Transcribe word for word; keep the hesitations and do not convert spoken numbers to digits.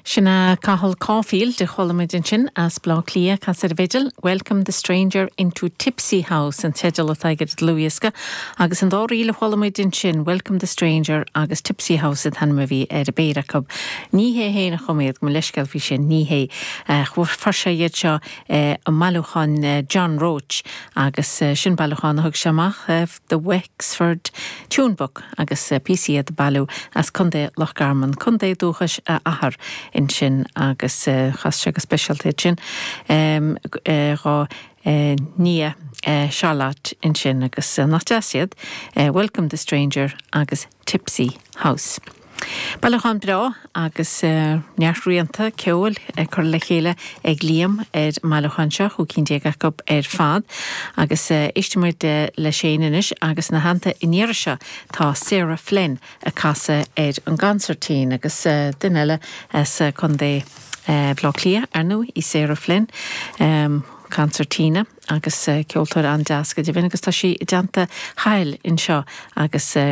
Sin é Cathal Caulfield a chuala muid ansin as Baile Átha Cliath ag casadh ar an bhfidil, Welcome the Stranger into Tipsy House an teideal atá aige ar an dlúthdhiosca, agus an dá ríl a chuala muid ansin Welcome the Stranger agus Tipsy House an t-ainm a bhí ar an bpéire acu. Ní hé féin a chum iad mo leithscéal faoi sin ní hé fuair sé iad seo i mbailiúchán John Roche agus sin bailiúchán a thug sé amach The Wexford Tune Book agus píosaí iad a bailíodh as Contae Loch Garman, Contae dúchais a athar ansin agus chas sé go speisialta sin dá nia Charlotte ansin agus nach deas iad, Welcome the Stranger agus Tipsy House. Bailiúchán breá agus neart rianta ceoil ag cur le chéile ag Liam ar an mbailiúchán seo chúig cinn déag acu ar fad agus éistfimid leis féin anois agus ina theannta an iarraidh seo tá Sarah Flynn ag casadh ar an gconsairtín agus duine eile as Contae Bhaile Átha Cliath ar ndóigh í Sarah Flynn. Um, concertina agus ceoltóir an-deas go deimhin agus tá sí i dteannta Chathail anseo agus